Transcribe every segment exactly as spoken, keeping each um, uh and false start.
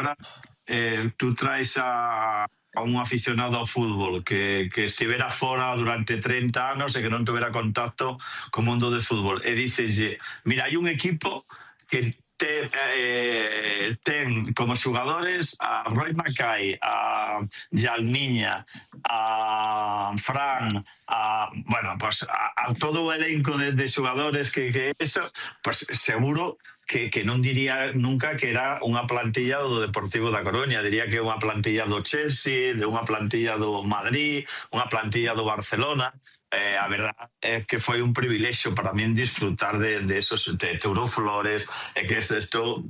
agora eh, tú traes a, a un aficionado ao fútbol que, que estivera fora durante treinta anos e que non tuvera contacto co mundo de fútbol e diceslle, mira, hai un equipo que te, eh, ten como xugadores a Roy Mackay, a Yalmiña, a Fran, a, bueno, pues a, a todo o elenco de, de xugadores que, que eso, pues seguro que, que non diría nunca que era unha plantilla do Deportivo da Coruña, diría que é unha plantilla do Chelsea, de unha plantilla do Madrid, unha plantilla do Barcelona. Eh, a verdad é que foi un privilexio para min disfrutar de, de esos, de Teuro Flores, e que estou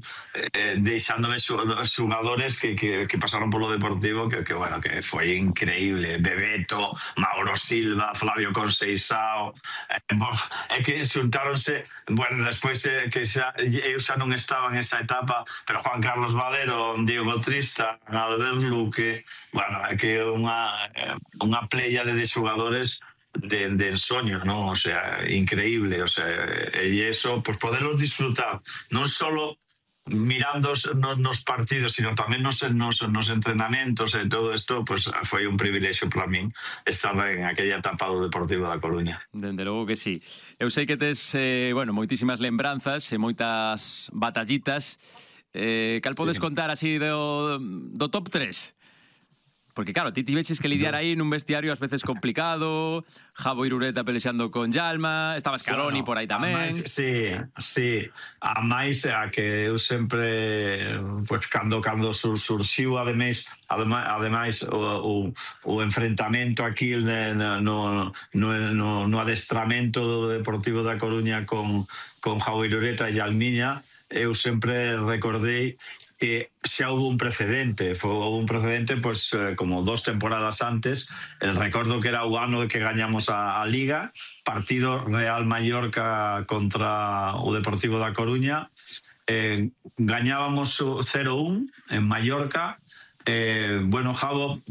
eh, deixándome xugadores que, que, que pasaron polo Deportivo que, que, bueno, que foi increíble. Bebeto, Mauro Silva, Flavio Conceição, eh, é que xuntáronse, bueno, despois eh, que xa, eu xa non estaba en esa etapa, pero Juan Carlos Valero, Diego Trista, Albert Luque, bueno, é que unha, unha pléyade de xugadores de, de ensoño, ¿no? O sea, increíble, o sea, e eso, pues poderlos disfrutar, non solo mirando nos, nos partidos, sino tamén nos, nos, nos entrenamentos e todo isto, pues foi un privilexio para min estar en aquella etapa do Deportivo da Coruña. Dende logo que sí. Eu sei que tes, eh, bueno, moitísimas lembranzas e moitas batallitas. Eh, cal podes sí. contar así do, do top tres? Porque claro, ti tiveches que lidiar aí nun vestiario ás veces complicado, Javo Irureta pelexando con Yalma, estaba Scaroni por aí tamén. Amais, sí, sí. A máis a que eu sempre, pues, cando, cando sur, surxiu, ademais, ademais, ademais o, o, o enfrentamento aquí no, no, no, no adestramento do Deportivo da Coruña con, con Javo Irureta e Yalmiña, eu sempre recordei que xa hubo un precedente, foi un precedente pues como dos temporadas antes, el recordo que era o ano que gañamos a, a Liga, partido Real Mallorca contra o Deportivo da Coruña, eh, gañábamos cero un en Mallorca. Eh, bueno, Javo,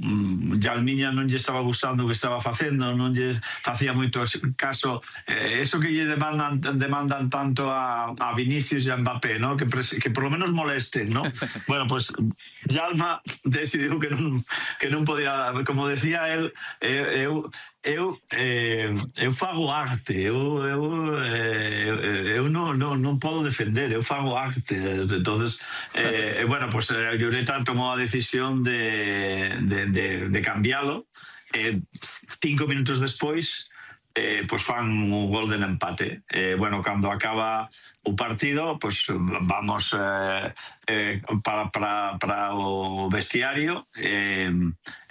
Yalmiña non lle estaba gustando o que estaba facendo, non lle facía moito caso, eh, eso que lle demandan, demandan tanto a, a Vinicius e a Mbappé, ¿no? que, que por lo menos molesten, ¿no? Bueno, pues Yalma decidiu que non, que non podía, como decía él, eh, eu eu eh, eu fago arte, eu eu eh, eu non non non podo defender, eu fago arte. Entonces, eh, bueno, pues Irureta tomou a decisión de de de de cambialo. Eh, cinco minutos despois eh, pues fan un gol del empate. Eh, bueno, cando acaba o partido, pues vamos eh, eh, para, para, para o vestiario eh,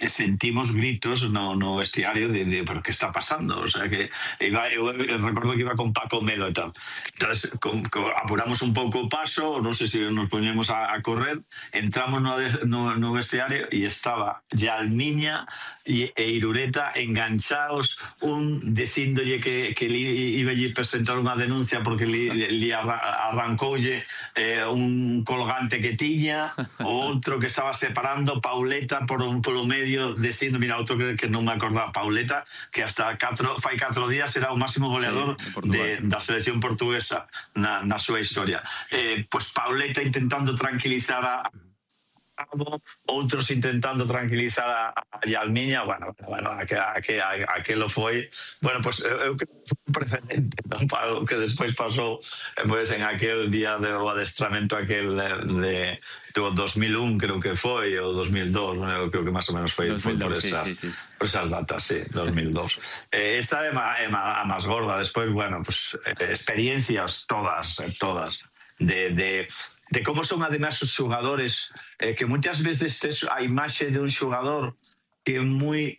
e sentimos gritos no, no vestiario de, de pero que está pasando, o sea que iba, eu, eu recordo que iba con Paco Melo e tal, entonces con, con, apuramos un pouco o paso, non sei se nos poñemos a, a correr, entramos no, no, no vestiario e estaba Yalmiña e, e Irureta enganchados, un dicíndolle que, que li, iba a presentar unha denuncia porque li, li arrancoulle eh, un colgante que tiña, o outro que estaba separando Pauleta por un polo medio, dicindo, mira, outro que, que non me acordaba, Pauleta, que hasta catro, fai catro días era o máximo goleador sí, de, da selección portuguesa na, na súa historia. Eh, pues Pauleta intentando tranquilizar a outros intentando tranquilizar a, a Yalmiña, bueno, bueno, a que, a que, a que lo foi, bueno, pues eu creo que foi un precedente, ¿no? Para o que despois pasou pues, en aquel día do adestramento aquel de, do dos mil un, creo que foi, ou dos mil dos, ¿no? Eu creo que máis ou menos foi, foi por, esas, sí, sí, sí. por esas datas, sí, dos mil dos. Eh, esta é a máis gorda, despois, bueno, pues experiencias todas, todas, de... de de como son además os xogadores, eh, que muchas veces tes a imaxe de un xogador que é moi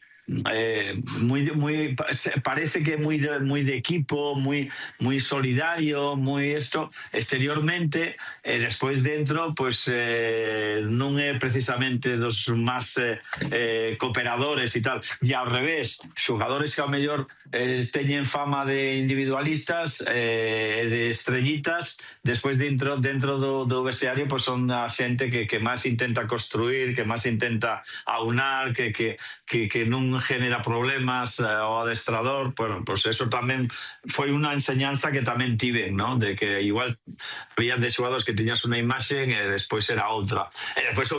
eh, muy, muy, parece que é moi de, muy de equipo, muy, muy solidario, muy esto, exteriormente, e eh, despois dentro, pues eh, non é precisamente dos máis eh, eh, cooperadores e tal, e ao revés, xogadores que ao mellor eh, teñen fama de individualistas e eh, de estrellitas, despois dentro dentro do, do vestiario pues son a xente que, que máis intenta construir, que máis intenta aunar, que, que, que, que non genera problemas eh, ao adestrador. Bueno, pues eso tamén foi unha enseñanza que tamén tiven, ¿no? De que igual había de xogadores que tiñas unha imaxe e despois era outra, e despois outra